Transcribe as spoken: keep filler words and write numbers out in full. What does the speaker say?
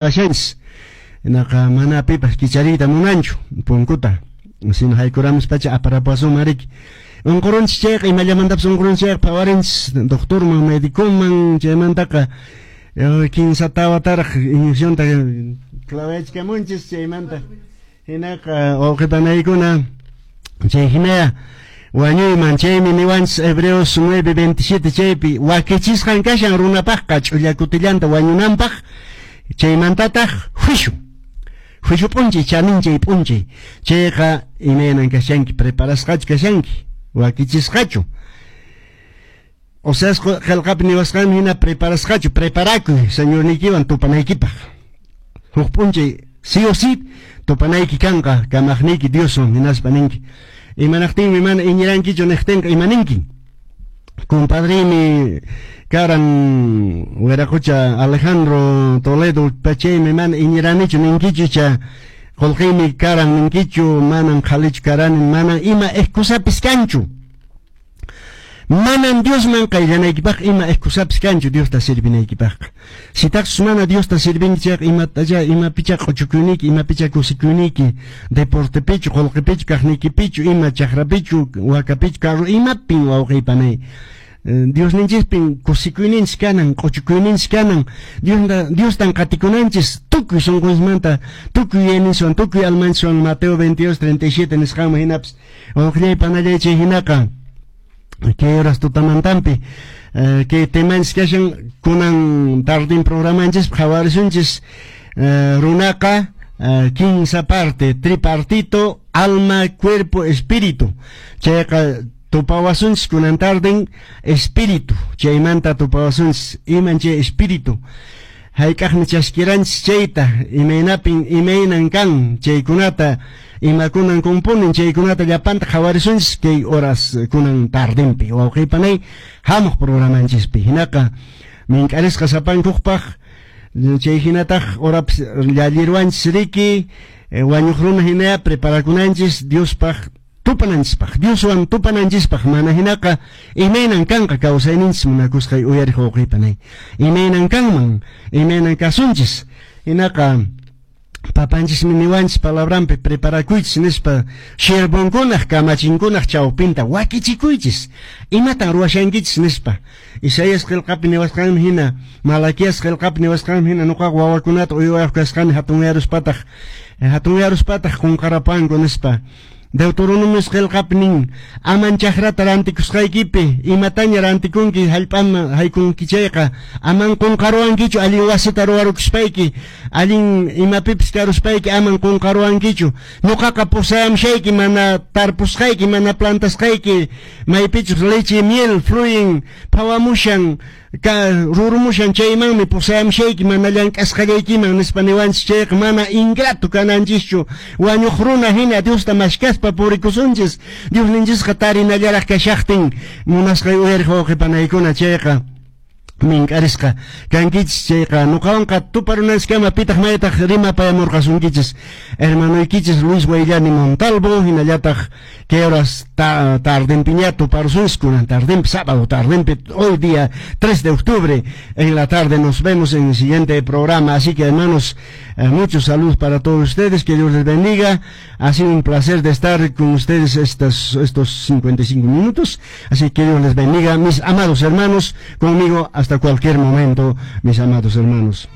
Kashanchis hinaqa mana pipas kichariyta munanchu punkuta sino haykuramuspacha aparapuwasunman riki. Unqurunchis chayqa, imallamantapas unqurunchis chayqa, phawarinchis doctorman, médicoman, chaymantaqa kinsa tawataraq inyeccionta clavachkamunchis chaymanta. Hinaqa wawqi panaykuna, chay hinaya wañuyman. Chaymi niwanchis Hebreos nueve veintisiete chaypi: wakichisqan kashan runapaqqa ch'ulla kutillanta wañunanpaq, chaymantataq juicio, juicio p'unchay, chaninchay p'unchay. Chayqa imaynan kashanki? Preparasqachu kashanki? Wakichisqachu? Oseas qillqapi niwasqanmi hina, preparasqachu? Preparakuy Señorniykiwan tupanaykipaq. Huk p'unchay sí o sí tupanayki kanqa kamaqniyki Dioswan. Hinaspa ninki: "Imanaqtinmi mana iñirankichu?" niqtinqa, ima ninki? Compadremi karan wiraqucha Alejandro Toledo, pachaymi mana iñiranichu ninkichu, cha qullqiymi karan ninkichu, manan qhalichu karani? Mana ima excusapis kanchu. Manan Diosman qayllanaykipaq ima excusapis kanchu Diosta servinaykipaqqa. Sitaqchus mana Diosta servinki chayqa, imatacha, imapicha q'uchukuyniyki, imapicha kusikuyniyki? Deportepichu, qullqipichu, kaqniykipichu, ima chakrapichu, wakapichu, carro, imapin, wawqiy panay? Diosninchispin kusikuyninchis kanan, q'uchukuyninchis kanan. Diosta, Diostan qatikunanchis tukuy sunqunchismanta, tukuy yuyayninchiswan, tukuy almanchiswan, Mateo veintidós treinta y siete nisqanman hinapis. Wawqillay panallay, chay hinaqa kay horas tutamantampi kay temanchis kashan kunan tardin programanchis. Qhawarisunchis runaqa kinsa parte, tripartito: alma, cuerpo, espíritu. Chayqa tupawasunchis kunan tarden espíritu, chaymanta tupawasunchis. Iman chay espíritu? Hayk'aqmi chaskiranchis chayta? Imaynapin, imaynan kan chaykunata? Imakunan componen chaykunata? Llapanta qhawarisunchis kay horas kunan tardinpi, wawqiy panay, hamuq programanchispi. Hinaqa mink'arisqa sapankuqpaq. Chay hinataq horapis llallirwanchis riki. Wañuq runa hinaya preparakunanchis Diospaq tupananchispaq, Dioswan tupananchispaq. Mana hinaqa, imaynan kanqa kawsayninchis, munakusqay uyariq wawqiy panay? Imaynan kanman? Imaynan kasunchis? Hinaqa papanchismi niwanchis palabranpi: "Preparakuychis" nispa, "siervonkunaq, kamachinkunaq chawpinta wakichikuychis, imatan ruwashankichis?" nispa. Isaías qillqapi niwasqanmi hina, Malaquías qillqapi niwasqanmi hina: "Nuqaqa wawakunata uywayuq kasqani, hatunyaruspataq hatunyaruspataq qunqarapanku" nispa. Deuteronomios qillqapi nin: aman chakrata rantikusqaykipi, imataña rantikunki, hallp'aman haykunki chayqa, aman qunqaruwankichu. Allin wasita ruwarukuspayki, allin imapipis karuspayki, aman qunqaruwankichu. Ñuqaqa pusayamushayki mana tarpusqayki, mana plantasqayki, maypichus leche miel fluyen, phawamushan, ka rurumushan, chaymanmi pusayamushayki, mana llank'asqallaykiman nispa niwanchis. Chayqa mana ingrato kananchischu. Wañuq runa hina Diosta mashkaspa purikusunchis, Diosninchisqa tarinallaraq kashaqtin. Munasqay uyariq wawqi panaykuna, chayqa mink'arisqa kankichis. Chayqa nuqawanqa tuparunanchiskama, pitaq maytaq rimapayamurqasunkichis hermanoykichis Luis Guayllani Montalvo. Hinallataq kay horas ta, tardenpiña tuparusunchis kunan tardenpi, sábado tardenpi, hoy día tres de octubre en la tarde. Nos vemos en el siguiente programa. Así que, hermanos, eh, muchos saludos para todos ustedes, que Dios les bendiga. Ha sido un placer de estar con ustedes estos, estos cincuenta y cinco minutos, así que Dios les bendiga, mis amados hermanos. Conmigo hasta cualquier momento, mis amados hermanos.